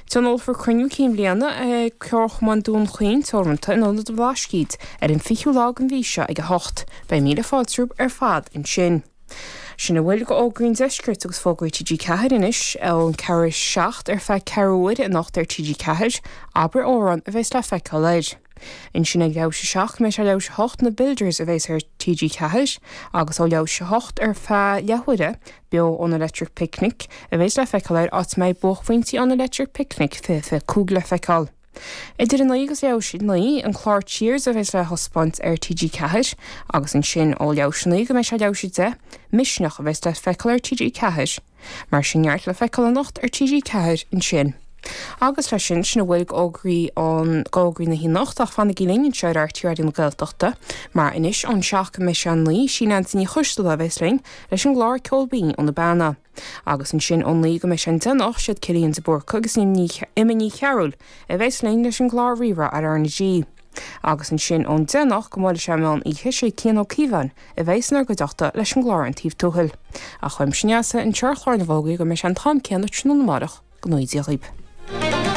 Tionólfar cruinniú cinn bhliana ag Comharchumann Dún Chaoin Teoranta in Ionad an Bhlascaoid ar an 20ú lá den mhí seo ag 8. Beidh míle fáilte romhaibh ar fad ansin. Sin a bhfuil d'fhógraí an deiscirt agus fógraí TG4 anois ón ceathrú théis 7 ar feadh ceathrú uaire anocht ar TG4, Abair Amhrán a bheas le feiceáil air. Ansin ag leathuair théis a 7 go mbeidh sé leathuair théis a 8 Na Builders a bheas ar TG4 agus ó leathuair théis a 8 ar feadh leathuaire, beo ón Electric Picnic a bheas le feiceáil air áit a mbeidh buaicphointí an Electric Picnic 2025 le feiceáil. Idir a 9 agus leathuair théis a 9, an clár Cheers a bheas le thaispeáint ar TG4 agus ansin ó leathuair théis a 9 go mbeidh sé leathuair théis a 10, Misneach a bheas le feiceáil ar TG4. Mar sin neart le feiceáil anocht ar TG4 ansin. Agus leis sin, sin a bhfuil d'fhógraí an, d'fhógraí na hanocht ach fanaigí linn anseo ar RTÉ Raidió na Gaeltachta mar anois ón 7 go mbeidh sé a 9, sí Neansaí Ní Choisdealbha a bheas linn leis an gclár Ceol Binn ó na Beanna. Agus ansin ón 9 go mbeidh sé an 10 anocht, siad Cillian de Búrca agus Emma Ní Chearúil a bheas linn leis an gclár Rí-Rá ar RnaG. Agus ansin ón 10 anocht go mbuailfidh sé an meán oíche, sé Cian Ó Cíobháin a bheas inár gcuideachta leis an gclár An Taobh Tuathail. Ach uaimse Neasa anseo ar chlár na bhfógraí go mbeidh sé an t-am céanna tráthnóna amárach, go ngnóthaí Dia dhaoibh.